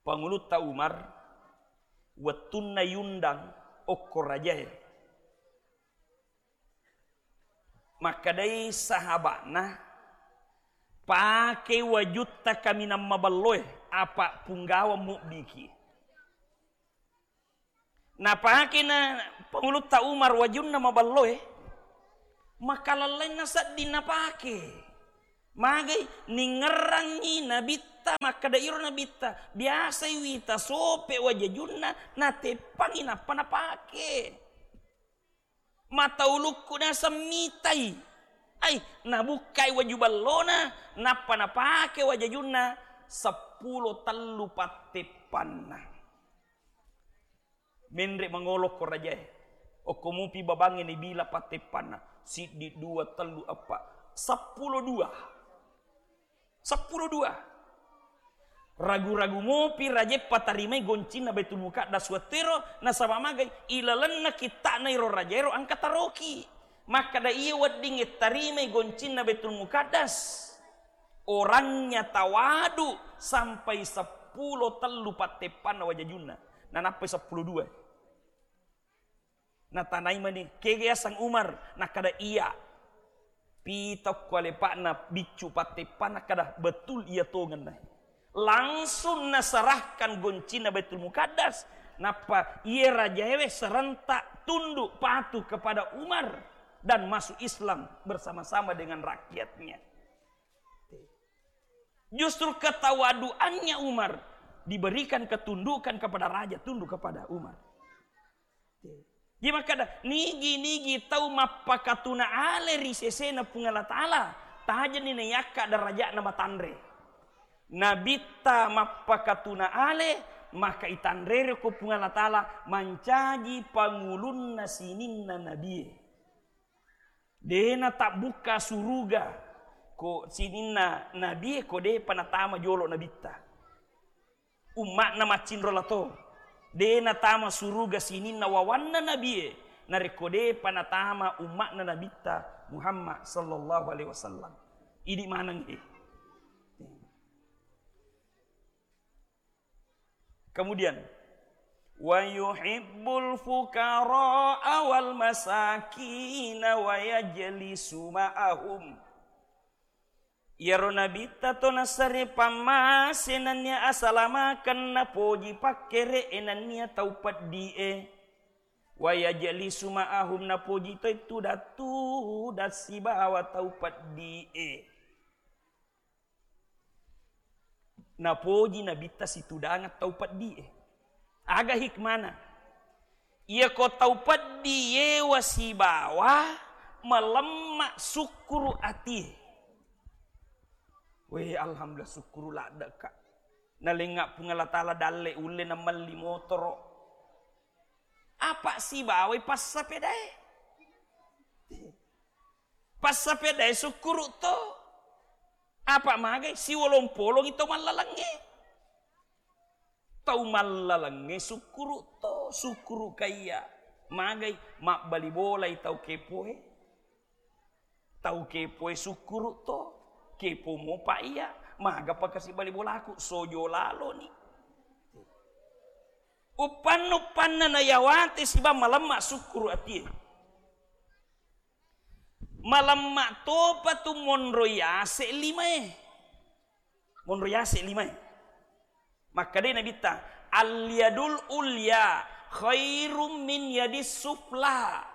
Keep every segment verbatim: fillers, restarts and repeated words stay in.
Pangulutta Umar, wettunna yundang okko rajae, makkedai sahaba'na, "Pake wajutta kaminang maballoe, apa punggawa mubbiki." Napakena Pangulutta Umar wajunna maballoe, makalallainna sedding napake. Magai ningngerangngi nabitta, makkeda iro nabitta, biasai wita sope wajajunna, nateppangi nappa napake. Mata ulukku naseng mitai. Ai, nabukkai waju ballona, nappa napake wajajunna seppulo tellu patteppanna. Menre mangolo ko rajae. Okko mupi babangnge nibila patteppanna. Siddi, dua, tellu, eppa. Seppulo dua. Seppulo dua. Ragu-ragu mopi raja patarimai goncinna Baitul Muqaddas wettuero, nasaba magai ilalenna kitta'na iro rajaero engka taroki. Makkeda iya weddingnge tarimai goncinna Baitul Muqaddas, orangnya tawadu sampai seppulo tellu patteppanna wajajunna, nanappai seppulo dua. Natanai mani, "Kega yaseng Umar?" Nakkeda, "Iya." Pita ko alepa'na biccu patteppa, nakkeda, "Betul iya tongenna." Langsung naserahkan goncinna Baitul Muqaddas, nappa iye rajaewe serentak tunduk patuh kepada Umar dan masuk Islam bersama-sama dengan rakyatnya. Justru ketawaduannya Umar diberikan ketundukan kepada raja, tunduk kepada Umar. Jadi makkeda, nigi-nigi tau mappakatuna ale ri sesena Puang Allah Ta'ala, tajani nayakka darajatna matanre. Nabitta mappakatuna ale, maka itanrere ko Puang Allah Ta'ala mancaji pangulunna sininna nabie. Dena tabbukka suruga ko sininna nabie ko depa natama jolo nabitta. Umma'na maccinro lato. Dena tama suruga sininna wawanna nabie, narekko depa natama umma'na nabitta Muhammad sallallahu alaihi wasallam. Idi maneng e. Kemudian, "Wa yuhibbul fuqara'a wal masakina wa yajlisu ma'ahum." Iyaro nabitta to nasare pammase nennia asalamaken napoji pakkere'e nennia tau peddi'e. "Wa yajlisu ma'ahum," napoji toi tudang-tudang sibawa tau peddi'e. Napoji nabitta situdangeng tau peddi'e. Aga hikmana? Iyako tau peddi yewa sibawa malemma sukkuru atie. We, alhamdulillah, sukkuru ladde'ka. Nalengnga Puang Allah Ta'ala dalle ulle namelli motoro. Apa sibawai passapedae? Passapedae sukkuru to. Apa magai siwolong-polongi to mallalengnge. Tau mallalengnge sukkuru to, sukkuru kaiya. Magai mabbali bolai tau kepoe. Tau kepoe sukkuru to, kepo mopa iya, magapa kasi bali bolaku, sojo laloni. Uppanna-uppanna nayawate siba malemma sukkuru atie. Malemma topa tu monro yase limae. Monro yase limae. Makkedai Nabitta, "Al-yadul ulya khairum min yadis sufla."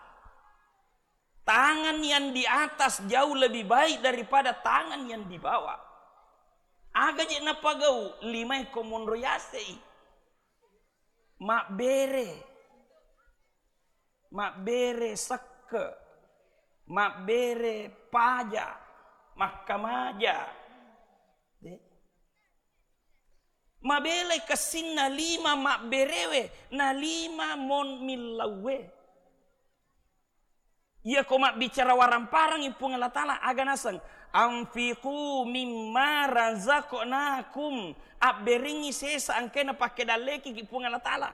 Tangan yang di atas jauh lebih baik daripada tangan yang di bawah. Aga je napagau limae ko monro yasei. Mabbere. Mabbere sekke, mabbere paja, makkamaja. De. Mabelai kessinna lima mabberewe, na lima mon millauwe. Iyako mabbicara waramparangi Puang Allah Ta'ala, aga naseng, "Anfiqu mimma razaqnakum." Abberengngi sesa engkae napakke dallekiki Puang Allah Ta'ala.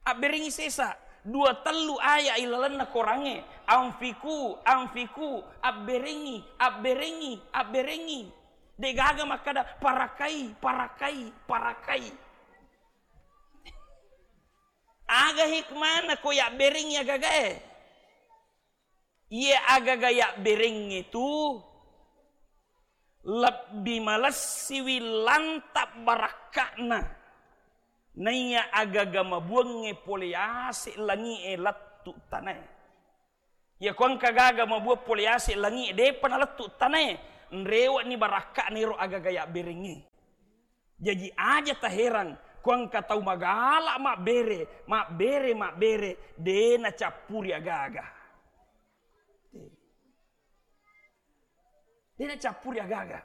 Abberengngi sesa, dua tellu aya ilalenna korangnge, "Anfiqu, anfiqu, abberengngi, abberengngi, abberengngi." Degaga makkada, "Parakai, parakai, parakai." Aga hikmana ko yabberengngi agagae? Iye agaga yabberengnge tu lebbi malessiwi lanta barakka'na. Naiya agaga mabuangnge pole yase langi'e lettu tanae. Iya ko engka gaga mabuang pole yase langi'e, depa nalettu tanae, nrewe'ni barakka'na ero agaga yabberengnge. Jaji aja taherang ko engka tau magala mabbere, mabbere, mabbere, de nacappuri agaga. De nacappuri agaga.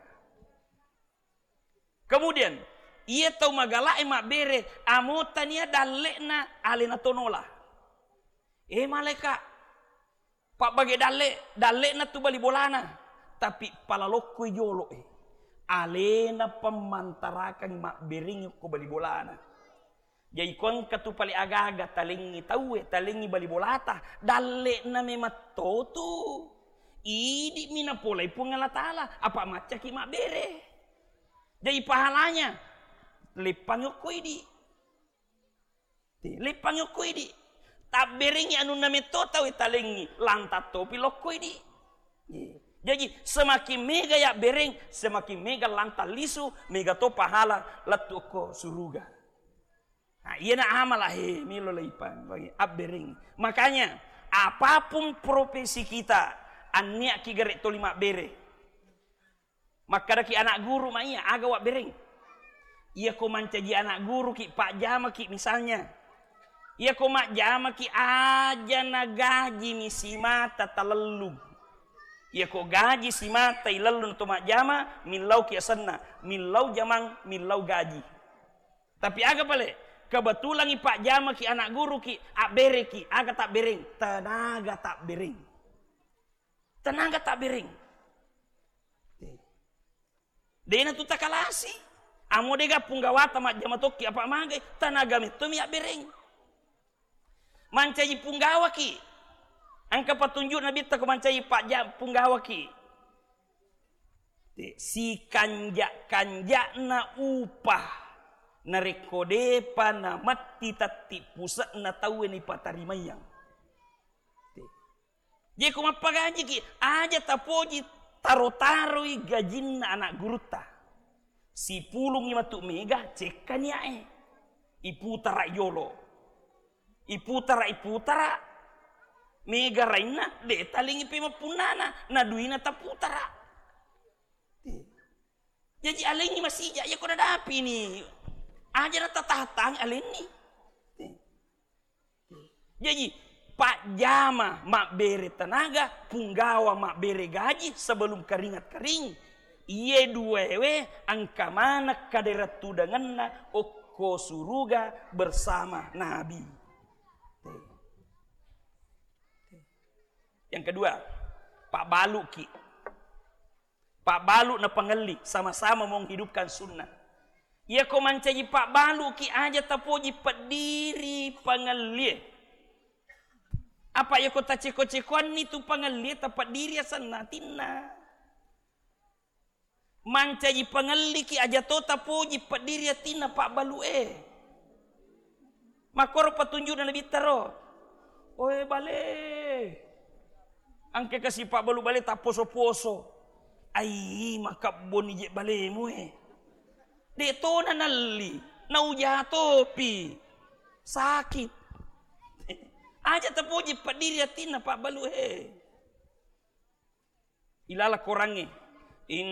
Kemudian, iya tau magalae mabbere, amo tania dalle'na alena tonola. Eh, malaika, pabbage dalle, dalle'na tu bali bolana, tapi pala lokkoi jolo e. Alena pemmantarakang mabberengngi ko bali bolana. Jaji ko engka tu pale agaga talengngi tauwe, talengngi bali bolata, dalle'na memang to tu. Idi'mi napolai Puang Allah Ta'ala, apa maccaki mabbere. Jaji pahalanya, leppangi okko idi. Leppangi okko idi. Tabberengngi anunna metto tauwe talengngi, lanta topi lokko idi. Jaji semakin mega yabbereng, semakin mega lanta lisu, mega to pahala lettu okko suruga. Nah, iyana amala, he, melo leipa, bagi abbereng. Makanya, apapun profesi kita, anniaki gare toli mabbere. Makkadaki anak guru ma iya, aga wabbereng. Iya ko mancaji anak guru ki, pajjama ki misalnya. Iya ko majjama ki, aja na gaji mi simata talellung. Iya ko gaji simata ilellung to majjama, millau ki asenna, millau jamang, millau gaji. Tapi aga pale? Kebetulan i pajjama ki anak guru ki, abbere ki, aga tabbereng? Tenaga tabbereng. Tenaga tabbereng. Dena tu takalasi. Amo dega punggawata majjama tokki apa magai, tenaga metto mi abbereng. Mancaji punggawaki. Engka patunjuk Nabitta ko mancaji pajja-, punggawaki. Te, sikanja-kanjana upah narekko depa nametti tetti puse'na tauwe nipatarimayang. Te. Jeko mappagajiki, aja tapoji taro-taroi gajinna anak gurutta. Sipulungngi matu mega, cekka niae. Iputara jolo. Iputara, iputara. Mega rainna, de talingi pemappunnana, na duina taputara. Jaji alengngi masija, iya ko nadapini. Aja na tatahang alenni. Jaji, pajjama mabbere tenaga, punggawa mabbere gaji sebelum keringat kering. Iye duaewe engka maneng kadera tudangenna okko suruga bersama Nabi. Yang kedua, pabbaluki. Pabbalu na pangelli, sama-sama menghidupkan sunnah. Iya ko mancaji pabbaluki aja tapoji peddiri pangellie. Apa iya ko taceko-cekoanni tu pangellie tapeddiri asenna atinna. Mancaji pangelliki aja to tapoji peddiri atinna pabbalu e. Makkoro patunjukna Nabitta ro. Oe bale. Engka kasi pabbalu bale tapposo-poso. Ai, makabboni je balemu e. De to nanalli, nauja topi. Sakit. Aja tapoji peddiri atinna pabbalu e. Ilala korangnge.